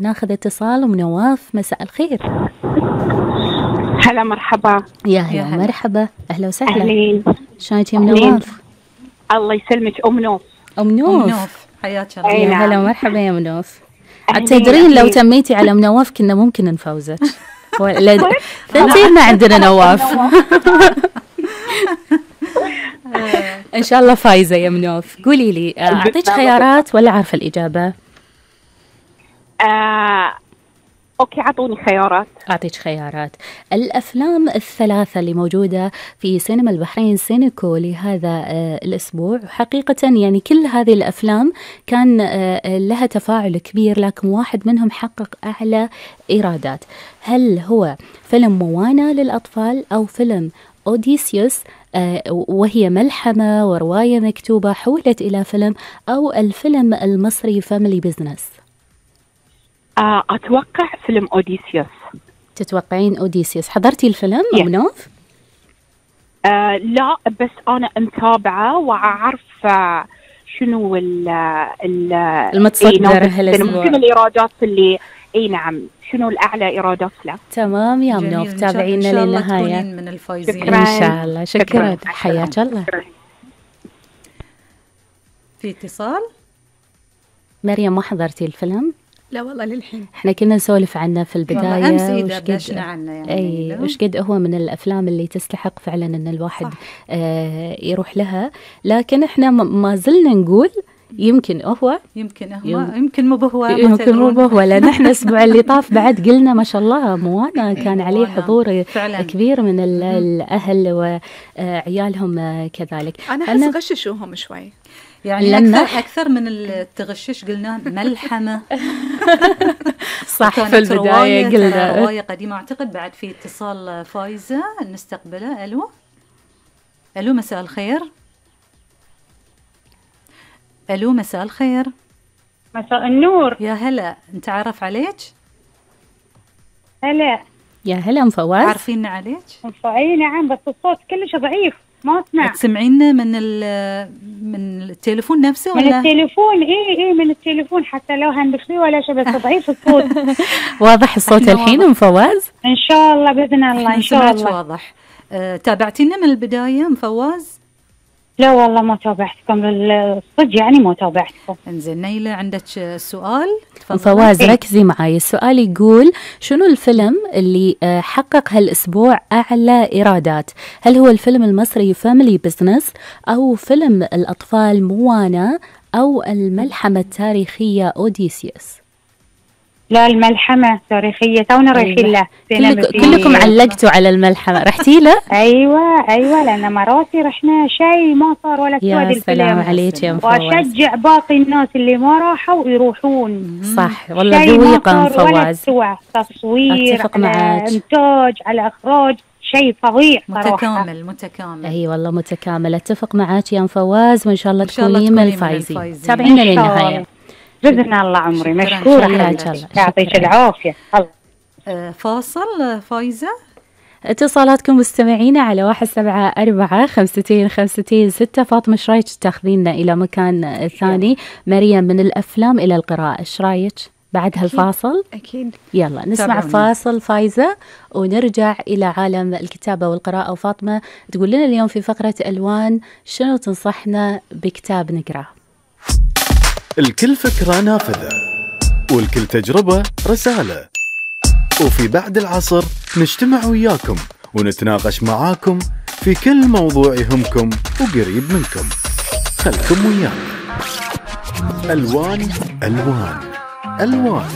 ناخذ اتصال من نواف. مساء الخير. هلا مرحبا. يا هلا مرحبا، أهلا وسهلا. أهلين. شلونك يا نواف؟ الله يسلمك. أم نوف. أم نوف حياك الله. يا هلا مرحبا يا أم نوف. تدرين لو تميتي على أم نواف كنا ممكن نفوزك. ثنتين ما عندنا نواف. إن شاء الله فايزة يا منوف. قولي لي أعطيك خيارات ولا عارفة الإجابة؟ أوكي عطوني خيارات. أعطيك خيارات. الأفلام الثلاثة اللي موجودة في سينما البحرين سينيكو لهذا الأسبوع، حقيقة يعني كل هذه الأفلام كان لها تفاعل كبير، لكن واحد منهم حقق أعلى إيرادات. هل هو فيلم موانا للأطفال، أو فيلم أوديسيوس وهي ملحمة ورواية مكتوبة حولت إلى فيلم، أو الفيلم المصري فاميلي بيزنس؟ أتوقع فيلم أوديسيوس. تتوقعين أوديسيوس؟ حضرتي الفيلم أم نوف؟ لا، بس أنا متابعة وأعرف شنو المتصدر هالأسبوع، شنو الإيرادات اللي نعم، شنو الأعلى إيرادات له. تمام يا منوف، تابعينا للنهاية من الفايزين إن شاء الله. شكرا، حياك الله. في اتصال. مريم، ما حضرتي الفيلم؟ لا والله للحين. احنا كنا نسولف عنه في البداية، أمس دردشنا عنه يعني. وش قد هو من الأفلام اللي تستحق فعلا أن الواحد يروح لها، لكن احنا ما زلنا نقول يمكن هو يمكن مو بهو، لأن احنا الأسبوع اللي طاف بعد قلنا ما شاء الله موانا كان عليه حضور كبير من الأهل وعيالهم كذلك. أنا أحس غششوهم شوي يعني، أكثر من التغشش. قلنا ملحمة. صح، في البداية قلنا رواية قديمة. أعتقد بعد في اتصال فايزة نستقبله. ألو مساء الخير. ألو مساء الخير. مساء النور. يا هلا، نتعرف عليك؟ هلا. يا هلا مفواز. عارفين عليك؟ أي نعم، بس الصوت كلش ضعيف ما أسمع. تسمعينا من التليفون نفسه ولا؟ من التليفون. إيه من التليفون، حتى لو هنبخلي ولا شيء، بس ضعيف الصوت. واضح الصوت الحين مفواز؟ إن شاء الله بإذن الله. إن شاء الله واضح. تابعتينا من البداية مفواز؟ لا والله ما تابعتكم الصدق، يعني ما تابعتكم. انزين نيلة، عندك سؤال؟ فواز ركزي معي. السؤال يقول شنو الفيلم اللي حقق هالأسبوع أعلى إيرادات؟ هل هو الفيلم المصري فاميلي بيزنس، أو فيلم الأطفال موانا، أو الملحمة التاريخية أوديسيوس؟ لا، الملحمة التاريخية تونا رايحين له. كلكم علقتوا على الملحمة، رحتي له؟ أيوة لأن مراتي رحنا شيء ما صار ولا سواد الفيلم. يا سلام عليك يا مفواز. وأشجع باقي الناس اللي ما راحوا يروحون. صح والله، ذويقة مفواز. تصوير، أتفق معك. إنتاج، على إخراج، شيء فظيع صراحة. متكامل. أي والله متكامل. أتفق معك يا مفواز، وإن شاء الله تكوني من الفايزين. تابعينا للنهاية بإذن الله. عمري مشكورة، يعطيك العافية. فاصل فايزة. اتصالاتكم مستمعينا على 174-52-52-6. فاطمة ايش رايك تاخذينا إلى مكان ثاني؟ مريم، من الأفلام إلى القراءة، ايش رايك بعد هالفاصل؟ أكيد. يلا نسمع فاصل فايزة ونرجع إلى عالم الكتابة والقراءة. وفاطمة تقول لنا اليوم في فقرة ألوان شنو تنصحنا بكتاب نقرأ؟ الكل فكرة نافذة، والكل تجربة رسالة، وفي بعد العصر نجتمع وياكم ونتناقش معاكم في كل موضوع يهمكم وقريب منكم. خلكم ويانا. ألوان ألوان ألوان.